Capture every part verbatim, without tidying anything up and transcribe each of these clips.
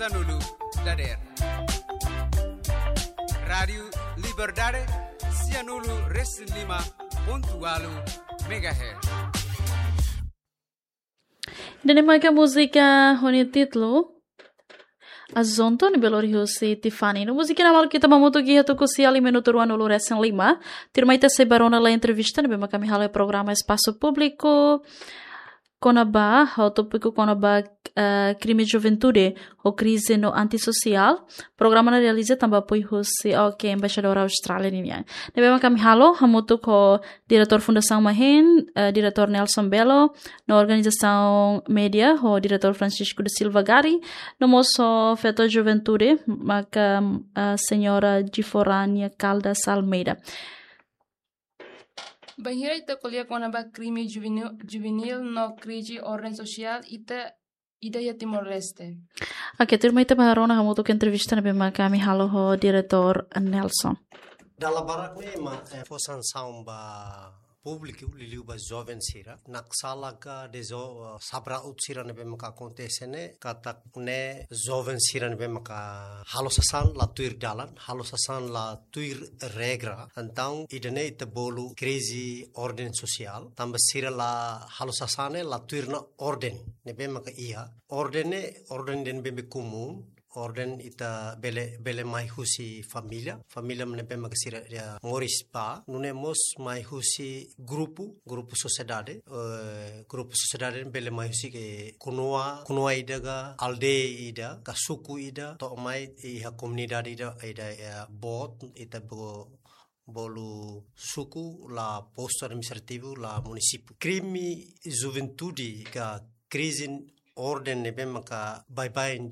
Sanulu dader. Rádiu Liberdade, sianulu resin lima pontu ualu megahertz. Ida-ne'e maka múzika ho nia títulu Azonto, ne'ebé lori husi Tiffany. No múzika ne'e maluk ita hamutuk iha tuku sia liu minutu ruanulu resin lima. Tuirmai ita sei ba rona lai entrevista ne'ebé maka ami halo iha programa Espasu Públiku kona-ba, ho tópiku kona-ba, eh, krime juventude ho krize no antisosiál. Programa ne'e realiza tanba apoiu husi, oke, Embaixadór Austrália ninian. Ne'ebé maka ami halo hamutuk ho Diretór Fundasaun Mahen, eh, Diretór Nelson Belo, no organizasaun média ho Diretór Francisco da Silva Gari, no mós ho feto juventude maka, eh, Señora Giforania Caldas Almeida. Bainhira ita ko'alia kona-ba krime juvenil, juvenil no krize orden sosiál ita ida iha Timor-Leste. Oke, tuirmai ita ba rona hamutuk entrevista ne'ebé maka ami halo ho Diretór Nelson. Dala barak ne'e ema, eh, fó sansaun ba públiku, liuliu ba joven sira. Naksala ka dezo, eh, sabraut sira ne'ebé maka akontese ne'e, katak ne'e joven sira ne'ebé maka halo sasán la tuir dalan, halo sasán la tuir regra. Entaun, ida-ne'e ita bolu krize orden sosiál, tanba sira la halo sasán ne'e la tuir ona orden ne'ebé maka iha. Orden ne'e, orden ida ne'ebé komún, orden ita bele, bele mai husi família, família ne'ebé maka sira, ya, moris ba, nune'e mós mai husi grupu, grupu sosiedade, eh, grupu sosiedade bele mai husi ke kunua, kunua ida ka aldeia ida, ka suku ida, to'o mai iha komunidade ida, ida, eh, boot, ita bo-, bolu suku la postu administrativu la munisípiu. Krime juventude ka krize orden ne'ebé maka baibain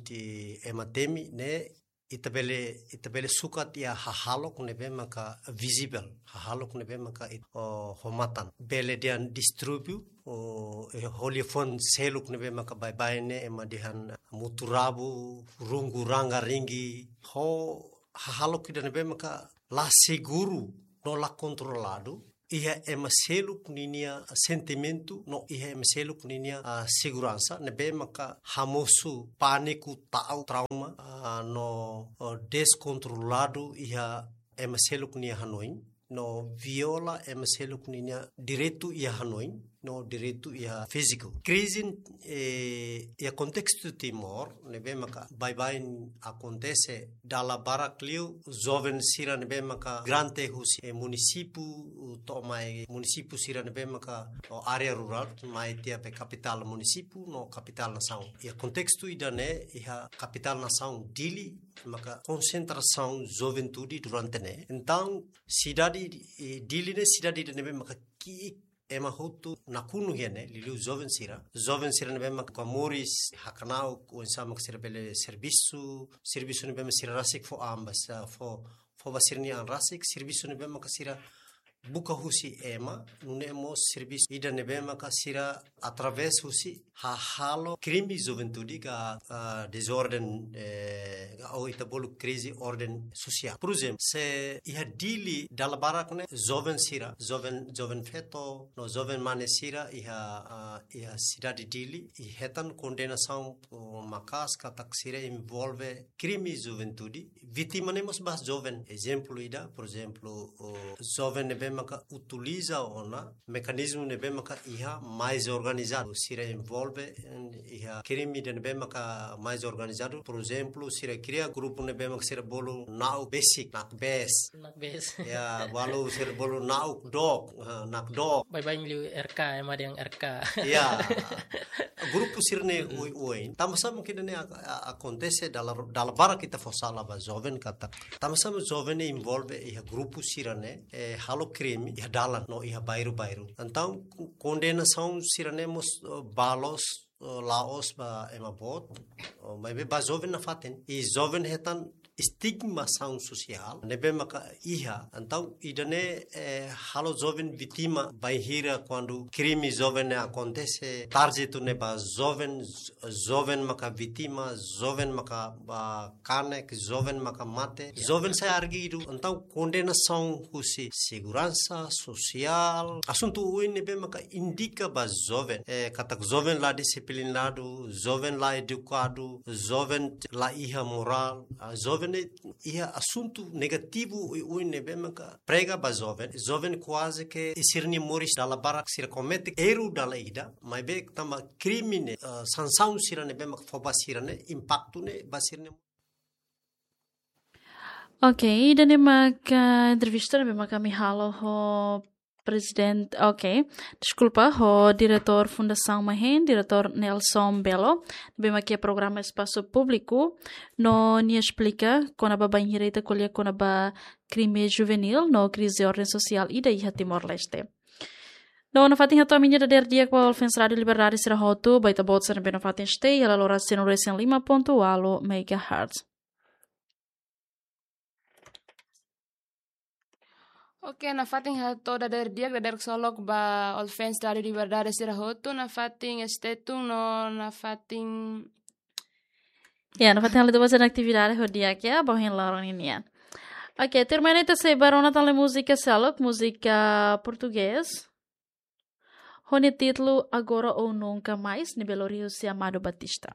ema temi ne'e ita bele, ita bele sukat iha hahalok ne'ebé maka vizivel, hahalok ne'ebé maka it-, o, ho matan. Bele dehan distúrbiu, o, eh, ho liafuan seluk ne'ebé maka baibain ne'e ema dehan mutu-rabu, rungu ranga-ringi, ho hahalok ida ne'ebé maka la seguru no la kontroladu iha ema seluk ninia sentimentu no iha ema seluk ninia, ah, seguransa ne'ebé maka hamosu pániku, ta'uk, trauma, ah, no, oh, deskontroladu iha ema seluk nia hanoin, no viola ema seluk ninia direitu iha hanoin, no direitu iha fíziku. Krize, eh, iha kontestu Timor, ne'ebé maka baibain akontese dala barak liu, joven sira ne'ebé maka migrante husi, eh, munisípiu, to'o mai munisípiu sira ne'ebé maka, o, área rurál, mai tiha be kapitál munisípiu, no kapitál nasaun. Iha kontestu ida-ne'e, iha kapitál nasaun Dili, maka konsentrasaun juventude durante ne'e. Entaun, sidade, eh, Dili ne'e sidade ida ne'ebé maka ki'ik ema hotu nakonu iha ne'e, liuliu joven sira. Joven sira ne'ebé maka moris hakna'ak, oinsá maka sira bele servisu, servisu ne'ebé maka sira rasik fó an ba sira, fó, fó ba sira-nia an rasik, servisu ne'ebé maka sira buka husi ema, nune'e mós servisu ida ne'ebé maka sira através husi hahalok krime juventude ka, ah, dezorden, eh, ka ou ita bolu krize orden sosiál. Por ezemplu, se iha Dili dala barak ne'e joven sira, joven, joven feto, no joven mane sira iha, ah, iha sidade Dili, i hetan kondenasaun, oh, maka'as katak sira envolve krime juventude, vítima ne'e mós ba joven. Ezemplu ida, por ezemplu, o joven ne'ebé maka utiliza ona mekanizmu ne'ebé maka iha mais organizadu. Sira envolve, en, iha krime ida ne'ebé maka mais organizadu. Por ezemplu, sira kria grupu ne'ebé maka sira bolu na'uk besik, nakbes. Nakbes. Ya, balu sira bolu na'uk dook, ha, nakdook. Baibain liu R K, ema dehan R K. Ya. Grupu sira-ne'e, mm-mm, oioin. Tanba sá mak ida-ne'e ak-, a-, akontese dala, dala barak ita fó sala ba joven katak. Tanba sá mak joven ne'e envolve iha grupu sira-ne'e, eh, halo krime, iha dalan, no iha bairru-bairru. Entaun, kondenasaun sira-ne'e mós, eh, ba loos, eh, la'ós ba ema boot, oh, maibé ba joven nafatin. I joven hetan estigmasaun sosiál ne'ebé maka iha. Entaun ida-ne'e, eh, halo joven vítima bainhira kuandu krime joven ne'e akontese, tarjetu ne'e ba joven, joven maka vítima, joven maka ba kanek, joven maka mate, joven sai argidu. Entaun kondenasaun husi seguransa sosiál, asuntu oioin ne'ebé maka indika ba joven, eh, katak joven la disiplinadu, joven la edukadu, joven la iha morál, ah, joven ne'e iha asuntu negativu oioin ne'ebé maka prega ba joven. Joven kuaze ke sira-nia moris dala barak sira komete erru dala ida, maibé tanba krime ne'e, ah, sansaun sira ne'ebé maka fó ba sira-ne'e, impaktu ne'e ba sira-nia. Ok, ida-ne'e maka entrevista ne'ebé maka ami halo ho prezidente, ok, deskulpa, ho diretór Fundasaun MAHEN, diretór Nelson Belo, ne'ebé maka iha programa Espasu Públiku, no nia esplika kona-ba bainhira ita ko'alia kona-ba krime juvenil no krize orden sosiál ida iha Timor-Leste. No nafatin hato'o ami-nia dadeer di'ak ba Olfens Rádiu Liberdade sira hotu, ba ita-boot sira ne'ebé nafatin stay, hela lora cento e cinco ponto oito megahertz. Ok, nafatin hato'o dadeer di'ak, dadeer ksolok ba Olfens Rádiu Liberdade sira hotu, nafatin stay tune no nafatin. Ya, nafatin halo ita-boot sira-nia atividade ho di'ak ya, ba ohin loron ninian. Ok, tuirmai ne'e ita sei ba rona tan ne'e múzika seluk, múzika portugés. Ho nia títulu Agora ou Nunca Mais, ne'ebé lori husi Amado Batista.